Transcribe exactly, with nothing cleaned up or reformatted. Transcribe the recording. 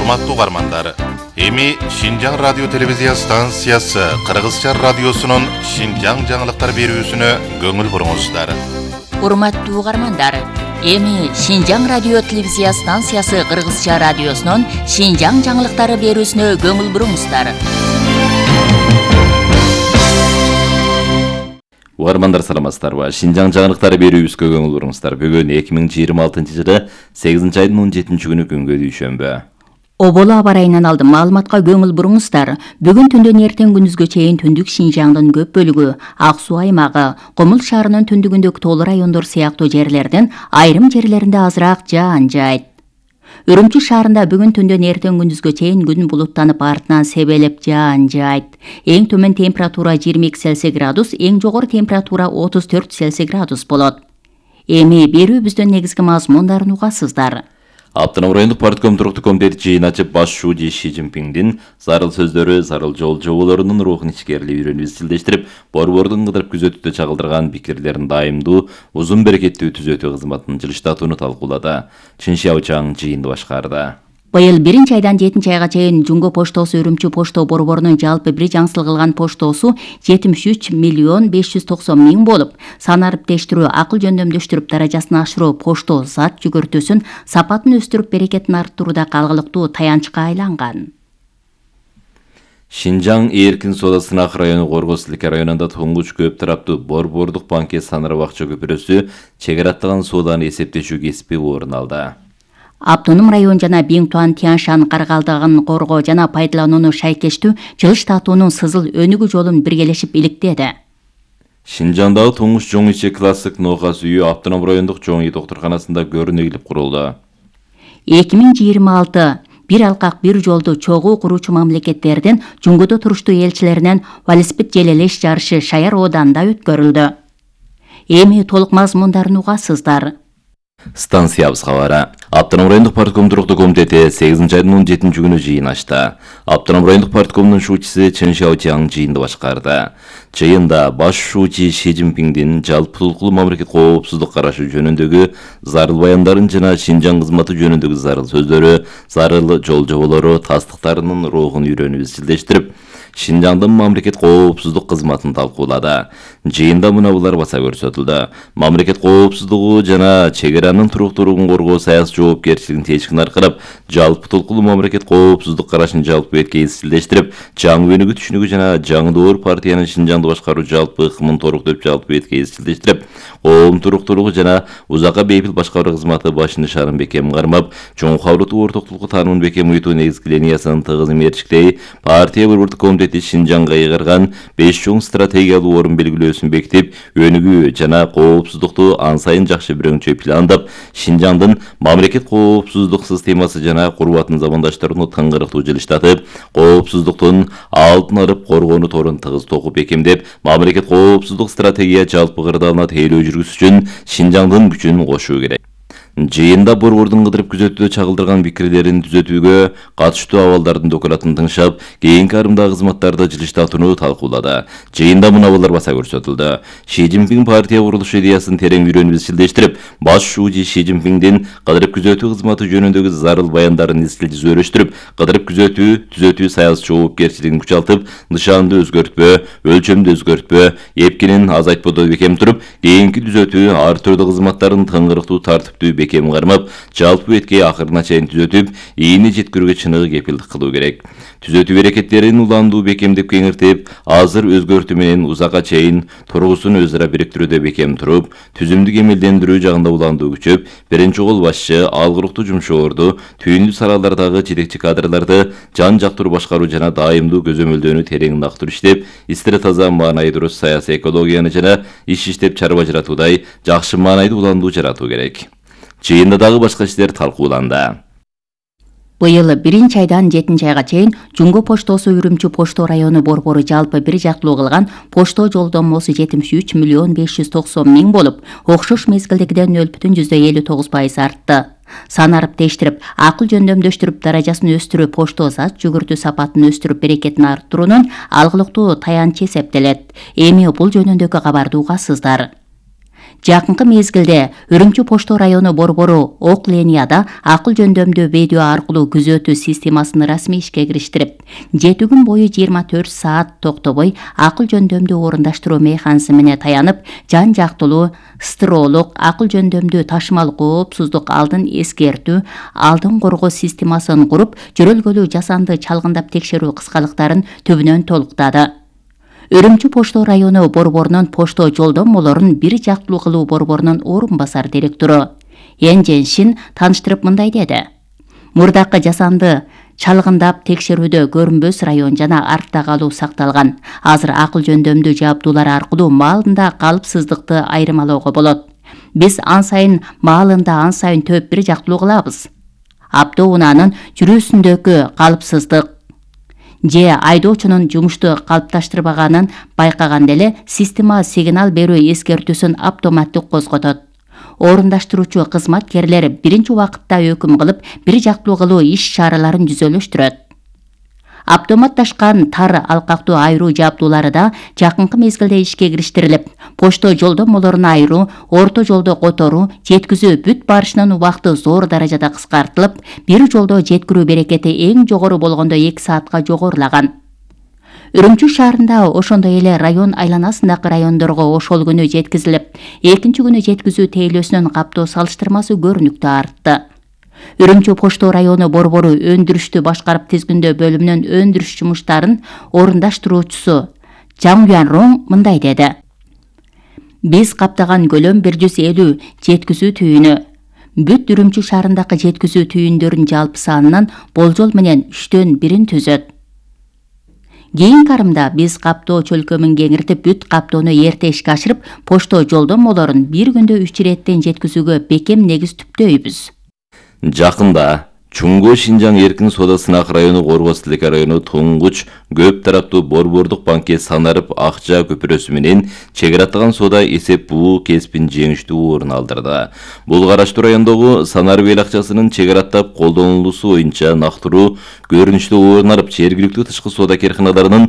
Урматтуу угармандар, эми Шинжаң радио телевизия станциясы Кыргызча радиосунун Шинжаң жаңылыктар берүүсүнө көңүл буруңуздар. Урматтуу угармандар, эми Шинжаң радио телевизия станциясы Кыргызча радиосунун Шинжаң жаңылыктары берүүсүнө көңүл буруңуздар. Угармандар саламатсыздарбы? Шинжаң жаңылыктары берүүбүзгө көңүл буруңуздар. Бүгүн эки миң жыйырма алтынчы жылы сегизинчи айдын он жетинчи күнү күнгө дүйшөмбү. Оболу аба ырайынан алдым маалыматка көңүл буруңуздар. Бүгүн түндөн эртең күндүзгө чейин түндүк Шинжаңдын көп бөлүгү, Ак Суу аймагы, Комул шаарынын түндүгүндөгү тоолуу райондор сыяктуу жерлердин айрым жерлеринде азыраак жаан жаайт. Үрүмчү шаарында бүгүн түндөн эртең күндүзгө чейин күн булуттанып артынан себелеп жаан жаайт. Эң төмөн температура жыйырма эки Цельсий градус, эң жогору температура отуз төрт Цельсий градус болот. Эми берүүбүздүн негизги мазмундарын угасыздар. Автоном райондук партком туруктуу комитети жыйын ачып, баш шууji Ши Цзиньпиндин зарыл сөздөрү, зарыл жол жоболорунун рухун ичкерилип үйрөнүп изчилдештирип, борбордун кыдырып күзөтүүдө чагылдырган пикирлерин дайымдуу, узун берекеттүү түзөтүү кызматынын жылыштатууну талкуулады. Чыншияо Чаң жыйынды башкарды. Быйыл биринчи айдан жетинчи айга чейин Жумго поштосу Үрүмчү почто борборунун жалпы бир жаңсыл кылган поштосу жетимиш үч миллион беш жүз токсон миң болуп, сан ариптештирүү, акыл жөндөмдөштүрүп даражасын ашыруу, пошто зат жүгүртүүсүн, сапатын өстүрүп, берекетин арттырууда калгылыктуу таянычка айланган. Шинжаң эркин соода сынак району Корго Силке районунда туңгуч көп тараптуу борбордук банкет санары бакча көпүрөсү чегара аттаган сооданы эсептешүү кесиби орун алды. Автоном район жана Биңтуан Тяншан каргалдыгын коргоо жана пайдаланууну шайкештүү жылыштатуунун сызыл өнүгүү жолун биргелешип иликтеди. Шинжаңдагы туңгуч жоң ичи классик ноокас үйү автоном райондук жоң ий доктурканасында көрүнүп курулду. эки миң жыйырма алты бир алкак бир жолду чогуу куруучу мамлекеттердин Жуңгудо туруштуу элчилеринен велосипед желелеш жарышы Шаяр ооданда өткөрүлдү. Эми толук мазмундарын угасыздар. Станциябыз кабары. Автоном райондук партком туруктуу комитети сегизинчи айдын он жетинчи күнү жыйын ачты. Автоном райондук парткомдун шуучусу Чыншияо Чаң жыйынды башкарды. Жыйында баш шуучи Ши Цзиньпиндин жалпы толкулуу мамлекет коопсуздук карашы жөнүндөгү зарыл баяндарын жана Шинжаң кызматы жөнүндөгү зарыл сөздөрү, зарыл жол жоболору, тастыктарынын рухун үйрөнүп изчилдештирип, Шинжаңдын мамлекет коопсуздук кызматын талкуулады. Жыйында мынабулар баса көрсөтүлдү. Мамлекет коопсуздугу жана чегаранын туруктуулугун коргоо саясий жоопкерчилигин течкин аркырап, жалпы толкулуу мамлекет коопсуздук карашын жалпы бетке изчилдештирип, жаңы өнүгүү түшүнүгү жана жаңы доор партиянын Шинжаңды башкаруу жалпы ыкмын торуктоп жалпы бетке изчилдештирип, коом туруктуулугу жана узакка бейпил башкаруу кызматы баш нышанын бекем кармап, чоң кабылдуу ортоктулукку таанымын бекем уютуу негизги линиясын тыгыз мерчиктей, партия борбордук комитети Шинжаңга ыйгарган беш чоң стратегиялуу орун белгилөөсүн бекитип, өнүгүү жана коопсуздукту ан сайын жакшы бирөңчө пландап, Шинжаңдын мамлекет коопсуздук системасы жана курбатын замандаштарына тыңгырыктуу жылыштатып, коопсуздуктун алдын алып коргоону торун тыгыз токуп бекемдеп, мамлекет коопсуздук стратегия жалпы кырдаалына тейлөө жүргүзүш үчүн Шинжаңдын күчүн кошуу керек. Жыйында борбордун кыдырып күзөтүүдө чагылдырган пикирлерин түзөтүүгө катыштуу абалдардын докладын тыңшап, кийинки арымдагы кызматтарды жылыштатууну талкуулады. Жыйында мынабулар баса көрсөтүлдү. Ши Цзиньпин партия курулушу идеясын терең үйрөнүп изчилдештирип, баш шууji Ши Цзиньпиндин кыдырып күзөтүү кызматы жөнүндөгү зарыл баяндарын изчил жүзөрүштүрүп, кыдырып күзөтүү, түзөтүү саясий жоопкерчилигин күчалтып, нышанды өзгөртпө, өлчөмдү өзгөртпө, эпкинин азайтпоодо бекем туруп, кийинки түзөтүү ар түрдүү кызматтарын тыңгырыктуу тартиптүү бекем кармап, жалпы бетке акырына чейин түзөтүп, ийини жеткирүүгө чыныгы кепилдик кылуу керек. Түзөтүү берекеттерин уландуу бекемдеп кеңиртип, азыр өзгөртүү менен узакка чейин тургусун өз ара бириктирүүдө бекем туруп, түзүмдү кемелдендирүү жагында уландуу күчөп, биринчи кол башчы, алгыруктуу жумшоорду, түйүндүү саралардагы жетекчи кадрларды жан жактуу башкаруу жана дайымдуу көзөмөлдөөнү терең нактур иштеп, истире таза маанайы дурус саясий экологияны жана иш иштеп чарба жаратуудай жакшы маанайдуу уландуу жаратуу керек. Жыйында дагы башка иштер талкууланды. Быйыл биринчи айдан жетинчи айга чейин Жумго поштосу Үрүмчү почто району борбору жалпы бир жактылуу кылган почто жолдомосу жетимиш үч миллион беш жүз токсон миң болуп, окшош мезгилдегиден нөл бүтүн жүздөн элүү тогуз пайыз артты. Сан ариптештирип, акыл жөндөмдөштүрүп, даражасын өстүрүп, пошто зат жүгүртүү сапатын өстүрүп, берекетин арттыруунун алгылыктуу таянычы эсептелет. Эми бул жөнүндөгү кабарды угасыздар. Жакынкы мезгилде Үрүмчү Пошто району борбору Ок линияда акыл жөндөмдүү видео аркылуу күзөтүү системасын расмий ишке кириштирип, жети күн бою жыйырма төрт саат токтобой акыл жөндөмдүү орундаштыруу механизмине таянып, жан жактылуу стыролук акыл жөндөмдүү ташымал коопсуздук алдын эскертүү, алдын коргоо системасын куруп, жөрөлгөлүү жасанды чалгындап текшерүү кыскалыктарын түбүнөн толуктады. Үрүмчү Пошто району борборунун пошто жолдомолорун бир жактылуу кылуу борборунун орун басар директору Энжен Шин тааныштырып мындай деди. Мурдакы жасанды чалгындап текшерүүдө көрүнбөс район жана артта калуу сакталган. Азыр акыл жөндөмдүү жабдуулар аркылуу маалында калыпсыздыкты айырмалоого болот. Биз ан сайын маалында ан сайын төп бир жактылуу кылабыз. Автоунаанын жүрүүсүндөгү калыпсыздык же айдоочунун жумушту калыпташтырбаганын байкаганда эле система сигнал берүү эскертүүсүн автоматтык козготот. Орундаштыруучу кызматкерлер биринчи убакытта өкүм кылып, бир жактылуу кылуу иш-чараларын жүзөлөштүрөт. Автоматташкан тар алкактуу айыруу жабдуулары да жакынкы мезгилде ишке кириштирилип, пошто жолдомолорун айыруу, орто жолдо которуу, жеткизүү бүт барышынын убакыты зор даражада кыскартылып, бир жолдо жеткирүү берекети эң жогору болгондо эки саатка жогорулаган. Үрүмчү шаарында ошондой эле район айланасындагы райондорго ошол күнү жеткизилип, экинчи күнү жеткизүү тейлөөсүнүн каптоо салыштырмасы көрүнүктүү артты. Үрүмчү Пошто району борбору өндүрүштү башкарып тизгиндөө бөлүмүнүн өндүрүш жумуштарын орундаштыруучусу Жан Юан мындай деди. Биз каптаган көлөм бир жүз элүү жеткизүү түйүнү. Бүт Үрүмчү шаарындагы жеткизүү түйүндөрүнүн жалпы санынан болжол менен үчтөн бирин түзөт. Кийинки арымда биз каптоо чөлкөмүн кеңиртип, бүт каптоону эрте ишке ашырып, пошто жолдомолорун бир күндө үч иреттен жеткизүүгө бекем негиз түптөйбүз. Жакында Чуңго Шинжаң эркин соода сынак району Коргоз тилеке району туңгуч көп тараптуу борбордук банкет санарып акча көпүрөсү менен чек ара соода эсеп буу кесипин жеңиштүү орун алдырды. Бул караштуу райондогу санарып эл акчасынын чек араттап колдонулуусу боюнча нактыруу көрүнүштүү орун алып, жергиликтүү тышкы соода керканаларынын